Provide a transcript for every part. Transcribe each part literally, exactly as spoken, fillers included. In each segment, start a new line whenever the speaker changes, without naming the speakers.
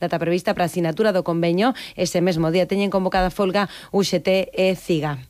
data prevista para a asinatura do convenio. Ese mesmo día teñen convocada folga U G T e CIGA.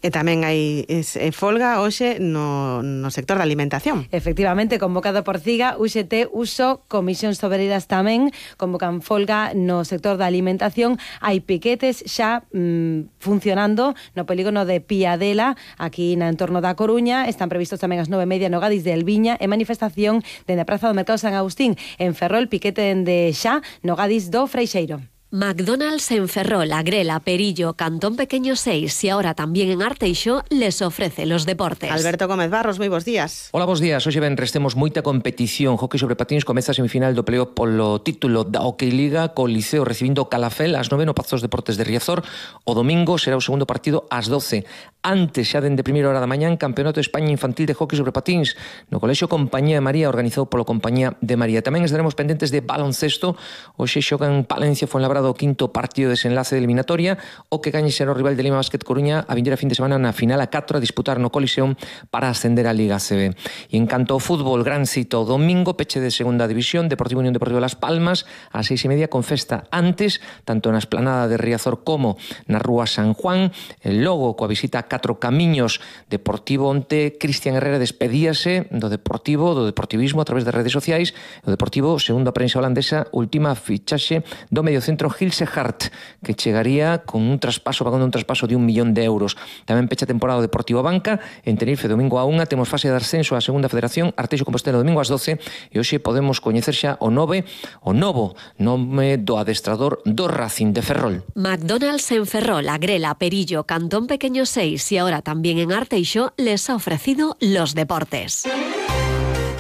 E tamén hai es, eh, folga hoxe no, no sector da alimentación.
Efectivamente, convocado por CIGA, U G T, Uso, Comisións Obreiras tamén convocan folga no sector da alimentación. Hai piquetes xa mm, funcionando no polígono de Piadela, aquí na entorno da Coruña. Están previstos tamén as nove e media no Gadis de Elviña e manifestación dende a Praza do Mercado San Agustín. En Ferrol, piquete dende xa no Gadis do Freixeiro.
McDonald's en Ferrol, Agrela, Perillo, Cantón Pequeño seis y ahora también en Arteixo les ofrece los deportes.
Alberto Gómez Barros, moi bons días.
Hola, bons días. Hoxe ben restemos moita competición. Hockey sobre patins comeza a semifinal do pleo polo título da Hockey Liga co Liceo recibindo Calafel ás nove no Pazos Deportes de Riazor. O domingo será o segundo partido ás doce. Antes, xa dende primeira hora da mañán, Campeonato de España Infantil de Hockey sobre patins no Colexio Compañía de María, organizado polo Compañía de María. Tamén estaremos pendentes de baloncesto. Hoxe xogan Palencia Fuenlabrada o quinto partido de desenlace de eliminatoria. O que gañe será o rival de Lima Basket Coruña a vindeira fin de semana na final a catro a disputar no Coliseum para ascender a Liga C B. E en canto ao fútbol, gran cita o domingo, peche de segunda división, Deportivo Unión Deportivo Las Palmas a seis e media con festa antes, tanto na esplanada de Riazor como na Rúa San Juan. El logo coa visita a catro camiños. Deportivo onte, Cristian Herrera despedíase do Deportivo, do deportivismo a través das redes sociais. O Deportivo, segundo a prensa holandesa, última fichaxe do mediocentro Gilse Hart, que chegaría con un traspaso, pagando un traspaso de un millón de euros. Tamén pecha temporada o Deportivo Banca. En Tenerife, domingo a unha, temos fase de ascenso á segunda federación, Arteixo Compostela domingo ás doce, e hoxe podemos coñecer xa o nove, o novo nome do adestrador do Racing de Ferrol.
McDonald's en Ferrol, Agrela, Perillo, Cantón Pequeño seis y ahora también en Arteixo les ha ofrecido los deportes.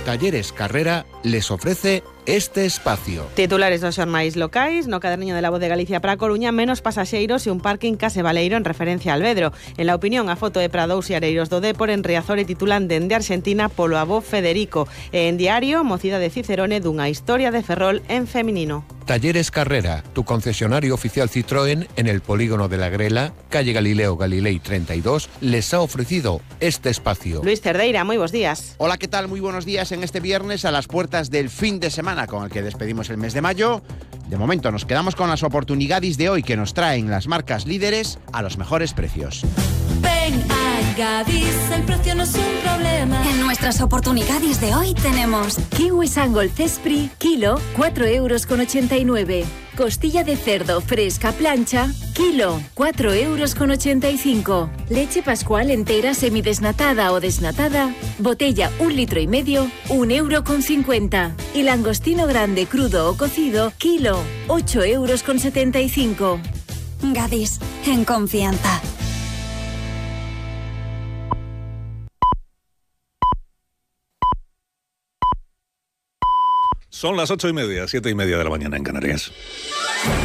Talleres Carrera les ofrece este espacio.
Titulares dos xornais locais, no caderniño de La Voz de Galicia para a Coruña, menos pasaxeiros e un parking case baleiro en referencia a Albedro. En la opinión, a foto de Prados e Areiros do Dépor en Riazor e titulan Dende Argentina polo avó Federico. E en Diario, mocida de Cicerone dunha historia de Ferrol en feminino.
Talleres Carrera, tu concesionario oficial Citroën en el polígono de la Grela, calle Galileo Galilei treinta y dos, les ha ofrecido este espacio.
Luis Cerdeira, muy buenos días.
Hola, ¿qué tal? Muy buenos días en este viernes a las puertas del fin de semana con el que despedimos el mes de mayo. De momento nos quedamos con las oportunidades de hoy que nos traen las marcas líderes a los mejores precios.
Ven a Gadis, el precio no es un problema. En nuestras oportunidades de hoy tenemos
kiwi Sangol Cespri, kilo, cuatro euros con ochenta y nueve. Costilla de cerdo fresca plancha, kilo, cuatro euros con ochenta y cinco. Leche Pascual entera semidesnatada o desnatada, botella un litro y medio, un euro con cincuenta. Y langostino grande crudo o cocido, kilo, ocho euros con setenta y cinco.
Gadis, en confianza.
Son las ocho y media, siete y media de la mañana en Canarias.